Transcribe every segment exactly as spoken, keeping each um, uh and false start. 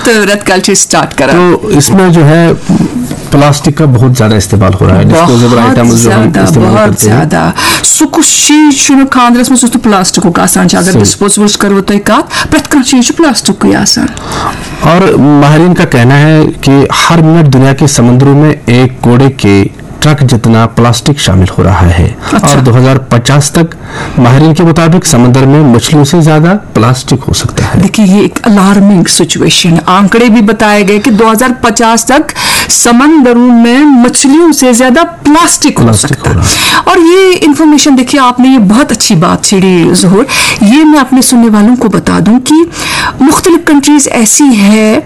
تہٕ رٮ۪تہٕ کالہِ چھِ أسۍ سٹارٹ کران۔ تو اس میں جو ہے پلاسٹک کا بہت زیادہ استعمال ہو رہا ہے، ڈسپوزیبل بہت آئٹمز جو ہم زیادہ، استعمال بہت کرتے ہیں۔ زیادہ۔ سُہ کُس چیٖز چھُنہٕ خانٛدرَس منٛز یُس نہٕ پلاسٹکُک آسان چھُ؟ اگر صحیح۔ ڈسپوزیبلٕچ کرو تۄہہِ کَتھ، پرٛٮ۪تھ کانٛہہ چیٖز چھُ پلاسٹکُے آسان۔ اور ماہرین کا کہنا ہے کہ ہر منٹ دنیا کے سمندروں میں ایک کوڑے کے ٹرک جتنا پلاسٹک شامل ہو رہا ہے۔ اچھا۔ اور دو ہزار پچاس تک ماہرین کے مطابق سمندر میں مچھلیوں سے زیادہ پلاسٹک ہو سکتا ہے۔ دیکھیے، یہ ایک الارمنگ سچویشن، آنکڑے بھی بتائے گئے کہ دو ہزار پچاس تک سمندروں میں مچھلیوں سے زیادہ پلاسٹک ہو پلاسٹک سکتا ہو ہے۔ رہا ہے۔ اور یہ انفارمیشن، دیکھیے، آپ نے یہ بہت اچھی بات چھیڑی ظہور۔ یہ میں اپنے سننے والوں کو بتا دوں کہ مختلف کنٹریز ایسی ہے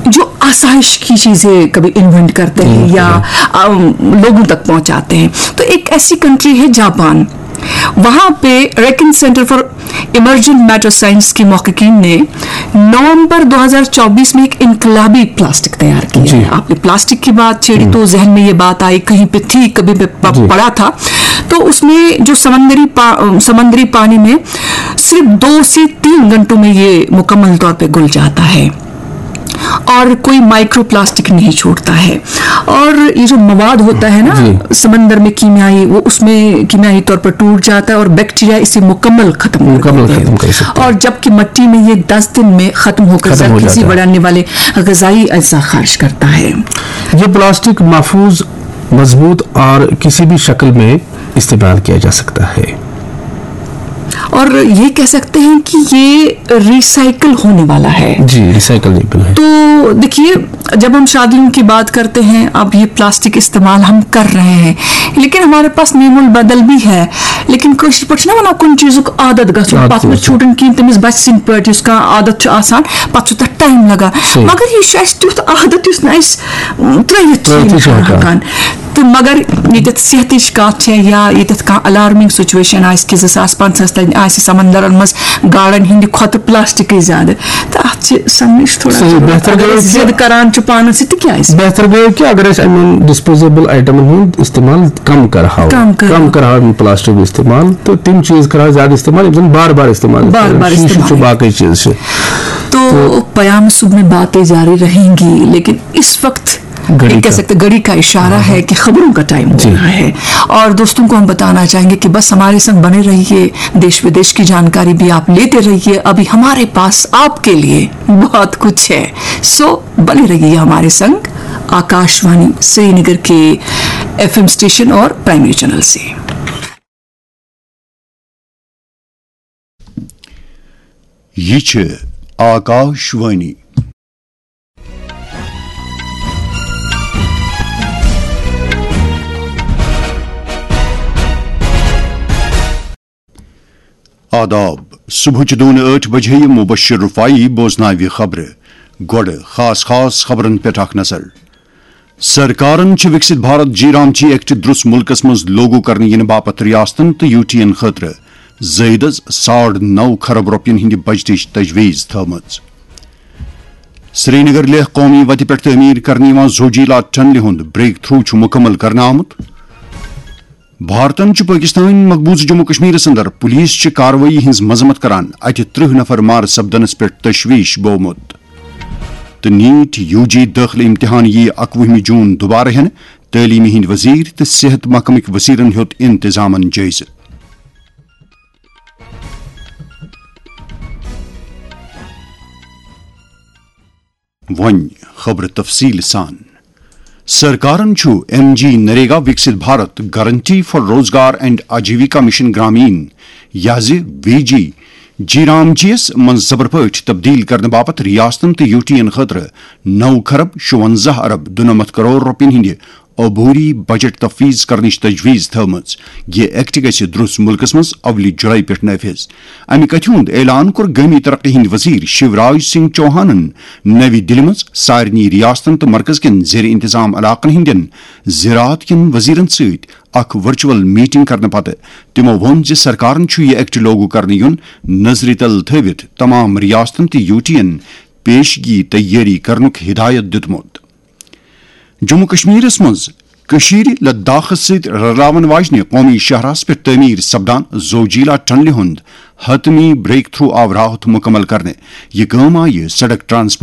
جو آسائش کی چیزیں کبھی انوینٹ کرتے ہیں یا لوگوں تک پہنچاتے ہیں۔ تو ایک ایسی کنٹری ہے جاپان، وہاں پہ RIKEN centre for emergent matter science کے محققین نے نومبر دو ہزار چوبیس میں ایک انقلابی پلاسٹک تیار کیا ہے۔ آپ نے پلاسٹک کی بات چھیڑی تو ذہن میں یہ بات آئی، کہیں پہ تھی، کبھی پڑھا تھا۔ تو اس میں جو سمندری سمندری پانی میں صرف دو سے تین گھنٹوں میں یہ مکمل طور پہ گل جاتا ہے اور کوئی مائکرو پلاسٹک نہیں چھوڑتا ہے۔ اور یہ جو مواد ہوتا ہے نا سمندر میں کیمیائی، وہ اس میں کیمیائی طور پر ٹوٹ جاتا ہے اور بیکٹیریا اسے مکمل ختم کر مکمل دیتے ہیں۔ ختم کر سکتے ہیں۔ اور جبکہ مٹی میں یہ دس دن میں ختم ہو کر ختم ہو زرخیزی جاتا ہے۔ بڑھانے والے غذائی اجزاء خارج کرتا ہے۔ یہ پلاسٹک محفوظ، مضبوط اور کسی بھی شکل میں استعمال کیا جا سکتا ہے۔ اور یہ کہہ سکتے ہیں کہ یہ ریسائیکل ہونے والا ہے۔ جی، ریسائیکل نہیں ہے۔ تو دیکھیے، جب ہم شادیوں کی بات کرتے ہیں، اب یہ پلاسٹک استعمال ہم کر رہے ہیں، لیکن ہمارے پاس نیم البدل بھی ہے۔ لیکن کٲشِر پٲٹھۍ چھِنہ وَنان، کُنہِ چیٖزُک عادت گژھُن، عادت پَتہٕ نہٕ گژھُن۔ چھُٹُن کِہیٖنۍ، تٔمِس بَچہِ سٕنٛدۍ پٲٹھۍ یُس کانٛہہ عادت چھُ آسان، پَتہٕ چھُ تَتھ ٹایم لَگان۔ صحیح۔ مگر یہِ چھُ اَسہِ تیُتھ عادت یُس نہٕ اَسہِ، م، ترٛٲوِتھ چھِ ترٛٲوِتھ یِم چھِ ہٮ۪کان۔ ہٮ۪کان۔ تہٕ مگر ییٚتٮ۪تھ صحتٕچ کَتھ چھےٚ یا ییٚتٮ۪تھ کانٛہہ الارمنگ سچویشن آسہِ کہِ زٕ ساس پنٛژاہَس تانۍ آسہِ سمندرن منٛز گاڈن ہٕنٛدِ کھۄتہٕ پلاسٹکٕے زیادٕ، تہٕ اَتھ چھِ سمجھ تھوڑا صحیح، ضروٗرت۔ بہتر اگر گوٚو أسۍ کہِ، ضد کران چھِ پانس سۭتۍ، تہٕ کیٛازِ؟ بہتر گوٚو کہِ اگر أسۍ یِمن ڈسپوزیبل آیٹمن ہُنٛد استعمال کم کرہاو، کم کرہاو۔ کم کرہاو یِم پلاسٹک استعمال، تہٕ تِم چیٖز کرہاو زیادٕ استعمال یِم زن بار بار استعمال بار کرو۔ بار شیٖشہٕ چھُ، استعمال۔ باقٕے چیٖز چھِ۔ تو تو پیام صبح میں باتیں جاری رہیں گی، لیکن اس وقت گھڑی ایک کہہ کا۔ سکتے، گھڑی کا اشارہ ہے کہ خبروں کا ٹائم ہو جی۔ رہا ہے۔ اور دوستوں کو ہم بتانا چاہیں گے کہ بس ہمارے سنگ بنے رہیے، دیش ودیش کی جانکاری بھی آپ لیتے رہیے۔ ابھی ہمارے پاس آپ کے لیے بہت کچھ ہے، سو بنے رہیے ہمارے سنگ، آکاش وانی سری نگر کے ایف ایم اسٹیشن اور پرائمری چینل سے۔ یہ چھ آکاش وانی۔ آداب۔ صبحٕچ دون ٲٹھ بجے مبشر رفاعی بوزناوِ خبرٕ۔ گۄڈٕ خاص خاص خبرن پٮ۪ٹھ اکھ نظر۔ سرکارن چھِ وِکسِت بھارت جی رام جی ایکٹ درُس مُلکس منٛز لاگو کرنہٕ یِنہٕ باپتھ ریاستن تہٕ یوٗ ٹی ین خٲطرٕ زٲیدس ساڑ نو خرب رۄپین ہٕنٛدِ بجٹٕچ تجویز تھٲومٕژ۔ سرینگر لیہہ قومی وتہِ پٮ۪ٹھ تعمیٖر کرنہٕ یِوان زوجیلا ٹنلہِ ہُنٛد بریک تھرو چھُ مُکمل کرنہٕ آمُت۔ بھارتن چھُ پٲکِستٲنۍ مقبوضہٕ جموں کشمیرس اندر پولیس چہِ کاروٲیی ہٕنٛز مذمت کران اتہِ ترٕہ نفر مارٕ سپدنس پٮ۪ٹھ تشویش بوومُت۔ تہٕ نیٹ یو جی دٲخلہٕ امتحان یِیہِ اکوُہمہِ جون دوبارٕ ہٮ۪نہٕ، تعلیٖمہِ ہٕنٛدۍ وزیر تہٕ صحت محکمٕکۍ وزیرن ہیوٚت انتظامن جٲیزٕ۔ وۄنۍ خبرٕ تفصیٖل سان۔ سرکارن چھُ M G NREGA Viksit Bharat guarantee for Rozgar and Ajeevika mission Gramin, یا زِ وی جی، جی رام جی یس منٛز زبر پٲٹھۍ تبدیل کرنہٕ باپتھ ریاستن تہٕ یوٗ ٹی ین خٲطرٕ نو خرب شُونزاہ ارب دُنمتھ کرور رۄپین ہٕنٛدِ عبوری بجٹ تفویض کرنٕچ تجویز تھٲومٕژ۔ یہِ ایکٹ گژھِ درُس مُلکس منٛز اولہِ جُلائی پٮ۪ٹھ نافذ۔ امہِ کتھِ ہُنٛد اعلان کوٚر گٲمی ترقی ہٕنٛدۍ وزیر شیوراج سنگھ چوہانن نوِ دِلہِ منٛز سارنٕے ریاستن تہٕ مرکز کٮ۪ن زیر انتظام علاقن ہٕنٛدٮ۪ن زراعت کٮ۪ن وزیرن سۭتۍ اکھ ورچوئل میٹنگ کرنہٕ پتہٕ۔ تِمو ووٚن زِ سرکارن چھُ یہِ ایکٹ لاگو کرنہٕ یُن نظرِ تل تھٲوِتھ تمام ریاستن تہٕ یوٗ ٹی ین پیشگی تیٲری کرنُک ہدایت دِیُتمُت۔ جموں کشمیرس منٛز کٔشیٖرِ لداخس سۭتۍ رلاون واجنہِ قومی شاہراہس پٮ۪ٹھ تعمیٖر سپدان زوجیلا ٹنلہِ ہُنٛد حتمی بریک تھرو آو راتھ مُکمل کرنہٕ۔ یہِ کٲم آیہِ سڑک ٹرانسپورٹ